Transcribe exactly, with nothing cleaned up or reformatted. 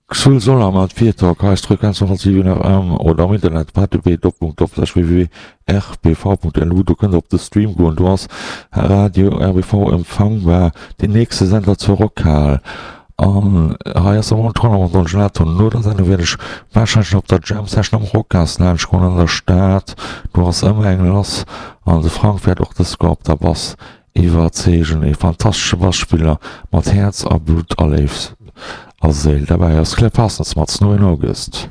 Xul Solar mat Fear-Talk hei ass d'Frequenz honnert siwen F M oder am Internet h t t p doppelpunkt doppelslash w w w r b v punkt l u. Do kënnt der op de Stream goen, do ass Radio R B V empfangbar, den nächste Sender zur Rockhal. An hei ass de Montroller mat Don Gelato. No der Sendung wäert ech warscheinlech op der Jam Session am Rocas laanscht goen an der Stad. Do ass ëmmer eng lass an de Frank wäert och dës Joer op der Bass iwwerzeegen. E fantastesche Basspiller mat Häerz a Blutt a Léift a Séil. Derbäi ass Claire Parsons mat Snow in August.